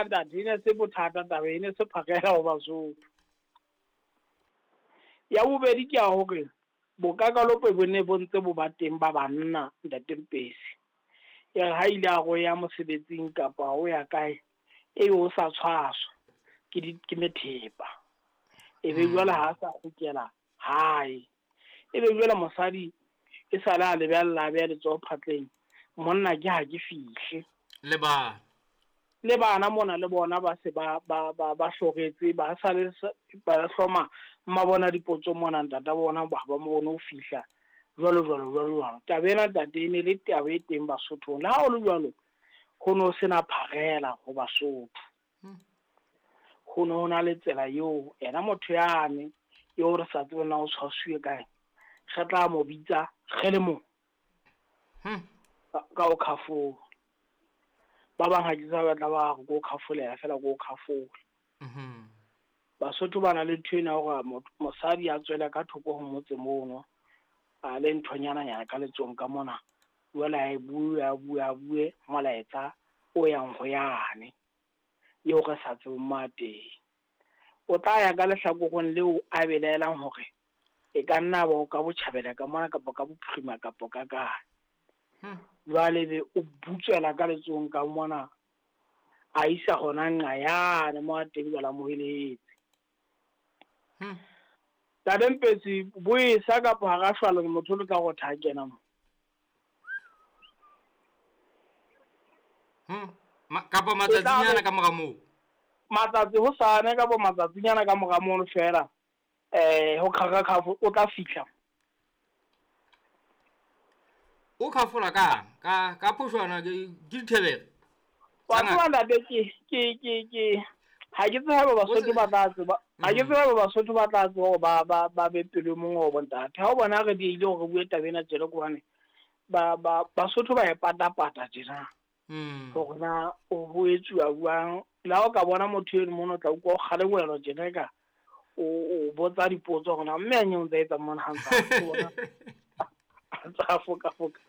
A ntate, e ne se bothata taba e ne se phakela ho Basotho. Ya bobedi ke ya hore bokakalope bo ne bo ntse bo ba teng ba banna ntate Mpesi. E re ha ile a ro ya mosebetsing kapa o ya kae, ebe o sa tshwaswa ke methepa. E be jwale ha sa kgutlela hae. E be jwale mosadi e sale a lebella a beha letsoho phatleng, monna ke ha ke fihle. Le bana. Le bana mona le bona ba se ba hloretse, ba sale ba hloma mabona dipotso mona ntata bona ba ba mo bone ho fihla jwalo jwalo jwalo jwalo. Taba ena ntate e ne le taba e teng Basothong. Le ha ho le jwalo, ho no sena pharela ho Basotho. Ho no na le tsela eo yena motho yane eo re sa tsebeng na o tshwasuwe kae, re tla mo bitsa re le mong. Ka o khafola. Ba bang ha ke sa batla ba re ko khafolela fela ko khafola. Basotho ba na le ntho ena hore mosadi a tswele ka thoko ho motse mono, a le nthonyana nyana ka letsong ka mona, jwale a e bue, a bue, a bue molaetsa o yang ho yane eo re sa tsebeng mo a teng. O tla ya ka lehlakoreng leo a belaelang hore e ka nna ba o ka botjhabela ka mona kapa ka bophirima kapa ka kae. Jwale be o butswela ka letsong ka mona, a isa hona nqa yane mo a teng jwale a mo helehetse. Ntate Mpetsi, boesa kapa hara shwalane motho o tla rotha ha kena mo. Kapa matsatsinyana ka mora moo. Matsatsi hosane kapa matsatsinyana ka mora mono fela, ho khakha o tla fihla. O khafola ka phoshwana ke dithebere. Wa tseba ntate ke ha ke tsebe haeba Basotho ba tla tseba, ha ke tsebe haeba Basotho ba tla tseba hore ba be pelo mongwe wa bontate. Ha o bona re diehile hore re bue taba ena tjena ke hobane Basotho ba e patapata tjena. Hore na ho etsuwa jwang. Le ha o ka bona motho eno mono o tla utlwa o kgalengwelwa tjena ka o botsa dipotso hore na mme a nyeo ntse a etsa mona ha ntse a foka-foka.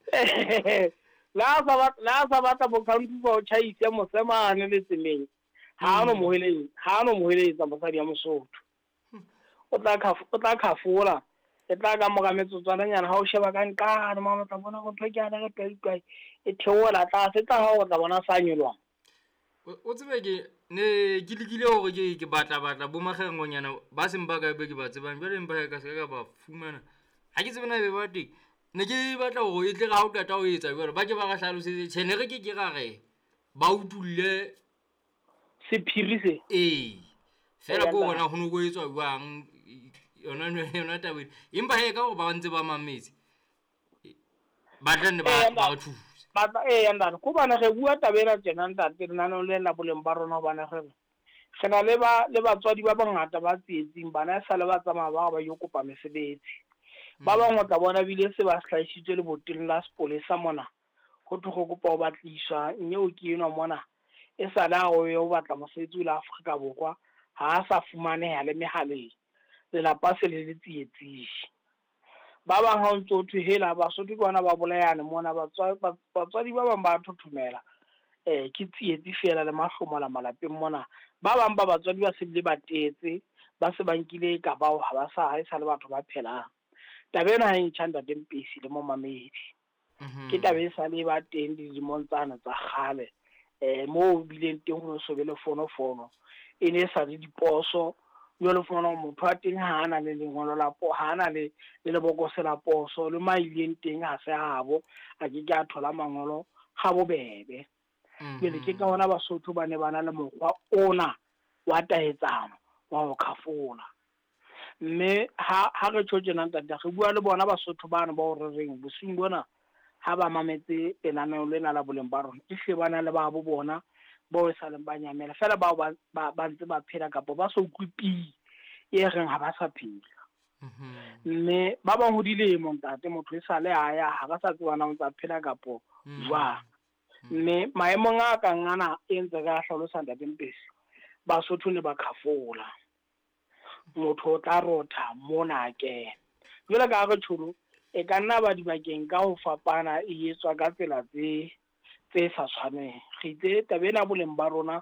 Le ha sa batla bo-country ba o tjhaise mosemane le tseleng, ha no mo heletsa mosadi ya Mosotho. O tla khafola, e tla ka mora metsotswananyana ha o sheba ka nqane mane o tla bona hore ntho ke yane re twai-twai e theohela tlase, e tla ha o tla bona sa nyoloha. O tsebe ke ne ke lekile hore ke batla bo makgerengonyana ba seng ba kae be ke ba tsebang, jwale empa ka se ka ba fumana. Ha ke tsebe na ebe ba teng. Ne ke batla hore e tle re ha o qeta ho etsa jwalo, ba ke ba re hlalosetse. Tjhe, ne re ke ke ra re ba utulle sephiri se. Ee. Fela ko bona ho no ho etswa jwang yona taba ena. Empa he ka hore ba ntse ba mametse, ba tla nne ba re thuse. Ntate, ko bana re bua taba ena tjena ntate, lenaneong le la boleng ba rona hobane re na le batswadi ba bangata ba tsietsing, bana e sale ba tsamaya ba ba yo kopa mesebetsi. Ba bang o tla bona bile se ba hlahisitswe leboteng la sepolesa mona, ho thwe go kopa ho batliswa nyeo ke enwa mona, e sale a o yo batla mosebetsi o la Afrika Borwa, ha a sa fumaneha le mehaleng, lelapa se le le tsietsing. Ba bang ha o ntso thwe hela Basotho ke bona ba bolayane mona, batswadi ba bang ba thothomela, ke tsietsi fela le mahlomola malapeng mona. Ba bang ba batswadi ba se bile ba tetse, ba se ba nkile ka bao ha ba sa, ha e sa le batho ba phelang. Taba ena ha e ntjha ntate Mpesi le momamedi. Ke taba e sale ba teng dilemong tsane tsa kgale, moo bileng teng ho so be le fonofono, e ne e sa le diposo. Jwale o fumana hore motho wa teng ha ana le lengolo la ha ana le lebokose la poso, le ma ileng teng ha se habo, a ke ke a thola mangolo ha bobebe. Jwale ke ka hona Basotho ba ne ba na le mokgwa ona wa taetsano wa ho khafola. Mme ha re tjho tjena ntate, re bua le bona Basotho bano bao re reng bosiung bona ha ba mametse lenaneo lena la boleng ba rona, ehlile ba na le ba bo bona bao e saleng ba nyamela fela, bao ba ntse ba phela kapa ba sa utlwe pi e reng ha ba sa phela. Mme ba bang ho dilemo ntate, motho e sale a ya ha ba sa tseba na o ntsa phela kapo jwang. Mme maemong a kang ana e ntse re a hlalosa ntate Mpesi, Basotho ne ba khafola. Motho o tla rotha mona a kena. Jwale ka ha re tjholo, e ka nna ba dibakeng ka ho fapana e etswa ka tsela tse sa tshwaneng. Re itse taba ena boleng ba rona